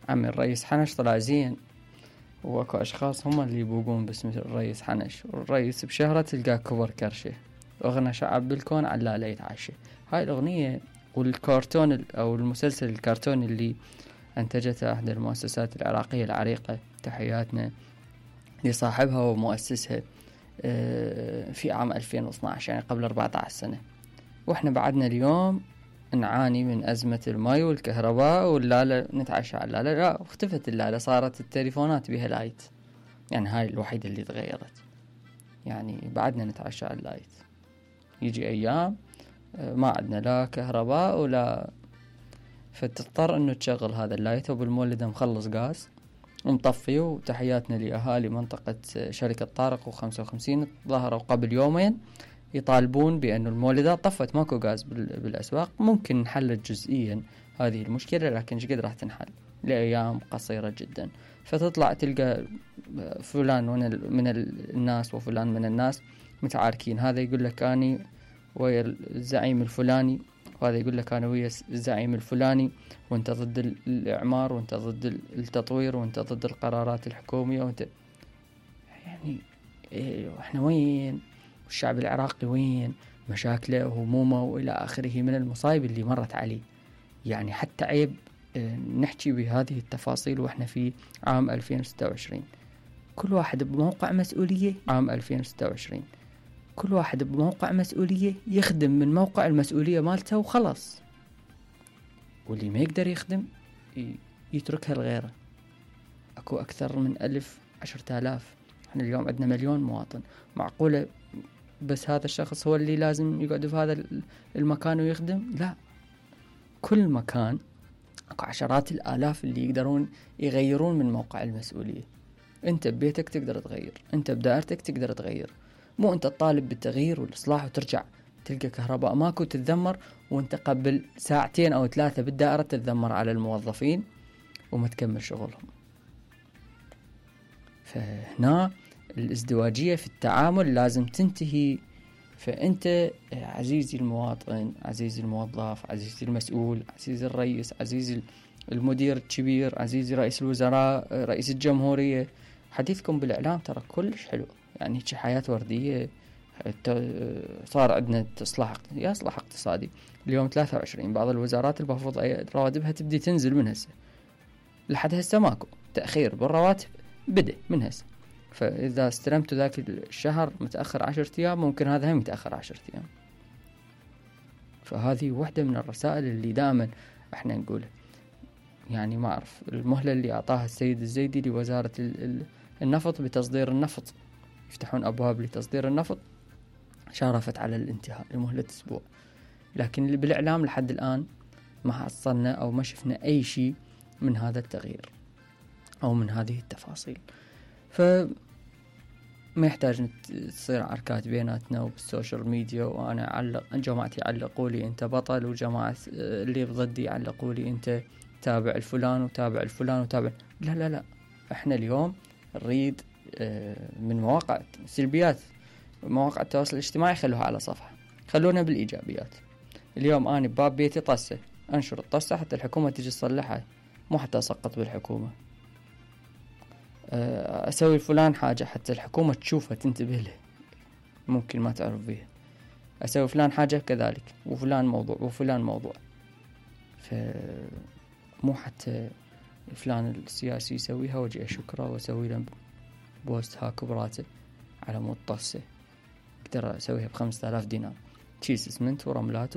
عمي الرئيس حنش طلع زين، واكو اشخاص هم اللي يبوقون باسم الرئيس حنش، والرئيس بشهرة تلقاه كبر كرشه، اغنى شعب بالكون علاله يتعشى. هاي الاغنية والكرتون او المسلسل الكرتوني اللي انتجته احدى المؤسسات العراقية العريقة، تحياتنا لصاحبها ومؤسسها، في عام 2012 يعني قبل 14 سنة. واحنا بعدنا اليوم نعاني من أزمة الماء والكهرباء واللالة، نتعشى على اللالة. لا، اختفت اللالة، صارت التليفونات بها لايت، يعني هاي الوحيدة اللي تغيرت. يعني بعدنا نتعشى على اللايت، يجي أيام ما عندنا لا كهرباء ولا، فتضطر انه تشغل هذا اللايت وبالمولدة مخلص غاز ومطفي. وتحياتنا لأهالي منطقة شركة طارق و55 ظهروا قبل يومين يطالبون بأن المولدات طفت، ماكو غاز بالأسواق. ممكن انحلت جزئيا هذه المشكلة، لكن شقد راح تنحل لأيام قصيرة جدا. فتطلع تلقى فلان من الناس وفلان من الناس متعاركين، هذا يقول لك أنا ويا الزعيم الفلاني، وهذا يقول لك أنا ويا الزعيم الفلاني، وانت ضد الإعمار، وانت ضد التطوير، وانت ضد القرارات الحكومية، وانت يعني احنا وين؟ والشعب العراقي وين؟ مشاكله وهمومه وإلى آخره من المصايب اللي مرت عليه. يعني حتى عيب نحكي بهذه التفاصيل وإحنا في عام 2026. كل واحد بموقع مسؤولية. عام 2026 كل واحد بموقع مسؤولية يخدم من موقع المسؤولية مالته وخلص، واللي ما يقدر يخدم يتركها لغيره. أكو أكثر من 1000 10,000، احنا اليوم عندنا 1,000,000 مواطن. معقولة بس هذا الشخص هو اللي لازم يقعد في هذا المكان ويخدم؟ لا، كل مكان اكو عشرات الآلاف اللي يقدرون يغيرون من موقع المسؤولية. انت ببيتك تقدر تغير، انت بدائرتك تقدر تغير، مو انت تطالب بالتغيير والإصلاح وترجع تلقى كهرباء ماكو تتذمر، وانت قبل 2 أو 3 ساعات بالدائرة تتذمر على الموظفين وما تكمل شغلهم. فهنا الازدواجية في التعامل لازم تنتهي. فأنت عزيزي المواطن، عزيزي الموظف، عزيزي المسؤول، عزيزي الرئيس، عزيزي المدير الكبير، عزيزي رئيس الوزراء، رئيس الجمهورية، حديثكم بالإعلام ترى كلش حلو، يعني حياة وردية. صار عندنا إصلاح اقتصادي اليوم 23. بعض الوزارات المفروض رواتبها تبدي تنزل من هسه، لحد هسه ماكو تأخير بالرواتب، بدأ من هسه. فإذا استلمت ذاك الشهر متأخر 10 أيام، ممكن هذا هم يتأخر 10 أيام. فهذه واحدة من الرسائل اللي دائما احنا نقولها. يعني ما أعرف المهلة اللي أعطاها السيد الزيدي لوزارة النفط بتصدير النفط، يفتحون أبواب لتصدير النفط، شارفت على الانتهاء لمهلة أسبوع. لكن اللي بالإعلام لحد الآن ما حصلنا أو ما شفنا أي شيء من هذا التغيير أو من هذه التفاصيل. فما يحتاج تصير عركات بيناتنا وبالسوشيال ميديا، وأنا أعلق جماعتي يعلقوا لي أنت بطل، وجماعة اللي ضدي يعلقوا لي أنت تابع الفلان وتابع الفلان وتابع. لا لا لا، احنا اليوم نريد من مواقع سلبيات مواقع التواصل الاجتماعي خلوها على صفحة، خلونا بالإيجابيات. اليوم أنا بباب بيتي طسة، أنشر الطسة حتى الحكومة تيجي تصلحها، مو حتى أسقط بالحكومة. أسوي فلان حاجة حتى الحكومة تشوفها تنتبه له، ممكن ما تعرف بيها. أسوي فلان حاجة كذلك، وفلان موضوع وفلان موضوع. فمو حتى فلان السياسي يسويها وجي أشكره وأسوي له بوست هاك براته على مود طسة، أقدر أسويها ب5,000 دينار، كيس اسمنت ورملات